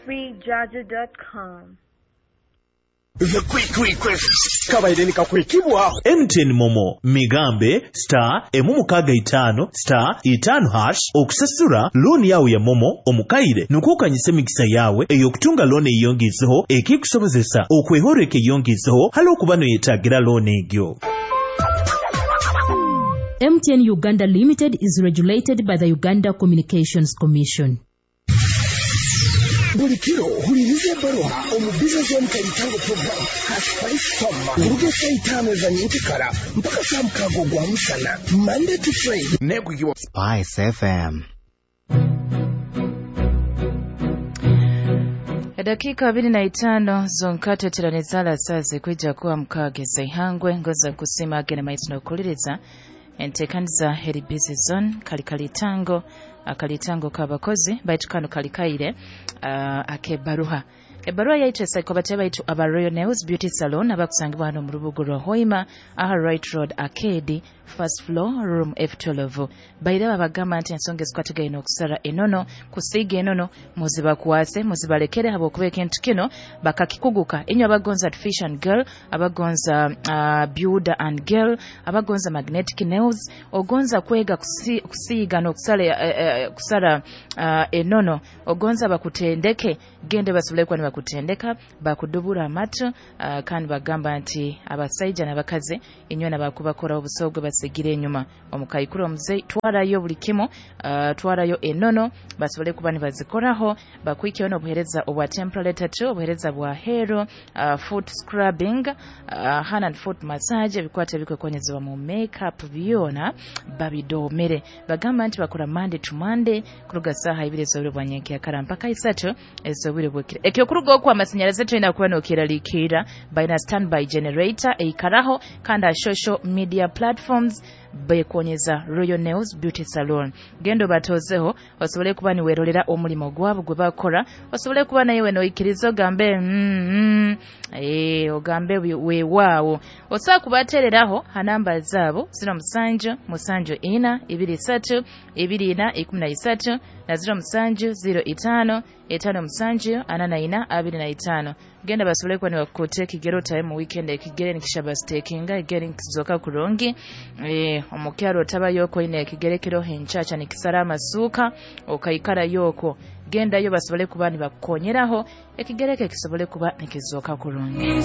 FreeJaja.com. The Quick Request kabaire nikakwekibwaho MTN Momo migambe star 655 star 5 hash okusasura looni yawe ya Momo omukaire nukukanyisa emikisa yawe ey'okutunga looni eyongezeho ekikusobozesa okwehoreka eyongezeho hali okuba noyetagira looni egyo. MTN Uganda Limited is regulated by the Uganda Communications Commission. Buli kiro huliriza ebbaruha omu Business Zone Kalitango program Haspice Soma kuruga esaa 5 eza nyenkikara mpaka saa 6 ogwa musana, Monday to Friday. Negugiwa Spice FM. Edakika 25 zonka tweteranizala sazi kwija kuwa mukageza ihangwe ngoza kusima agene maitu nokuliriza entekaniza heri busy zone kalikalitango akalitango kabakozi baitu kano kalikaire akebaruha ebaruha yaitu esaiko baitu aba Royal Nails Beauty Salon abakusangibwa hano mu rubugo rwa Hoima aha Right Road Arcade first floor room F12. Baire babagamba nti ensonga ezikwatagaine okusara enono kusiiga enono muzibakwase muzibalekere habwokuba ekintu kino bakakikuguka. Inywe abagonza fish and girl, abagonza builder and girl, abagonza magnetic nails, ogonza kwega kusiiga n'okusala kusara enono, ogonza bakutendeke, gende basobole kuba nibakutendeka bakudubura amatu, kandi bagamba nti abasaija n'abakazi inywe nabakubakora obusogo basigire enyuma omukaikuru omuzei twarayo buli kimu, twarayo enono basobole kuba nibazikoraho bakwikeyo n'obuhereza obwa temporary tattoo, obuhereza bwa hero, foot scrubbing, hand and foot massage, ebikwata ebikwekonyezebwa mu makeup byona babidomere. Bagamba nti bakora Monday to Monday kuruga saha 2 ez'obwire bwa nyenkyakara mpaka 3 ez'obwire bwekiro. Ekyokuruga okwo amasinyaraze tulina kuba nokeralikira balina standby generator eikaraho kandi social media platforms bekonyeza Royal Nails Beauty Salon. Gendo batozeho osobole kuba niwerolera omulimo gwabo gwe bakora, osobole kuba nayewe noikiriza ogambe ogambe weewaawo. Osobola kubatereraho ha namba zaabo 07 74 23 24 13 na 07 05 57 44 25. Genda basobole kuba nibakukuta ekigero otabe mu weekend ekigere nikishabastekinga ekigere nikizoka kurungi, omukyaro otabayo oine ekigere kiroho enchacha nikisara amasuuka okaikara yoko. Gendayo basobole kuba nibakukonyeraho ekigere ke kisobole kuba nikizoka kurungi.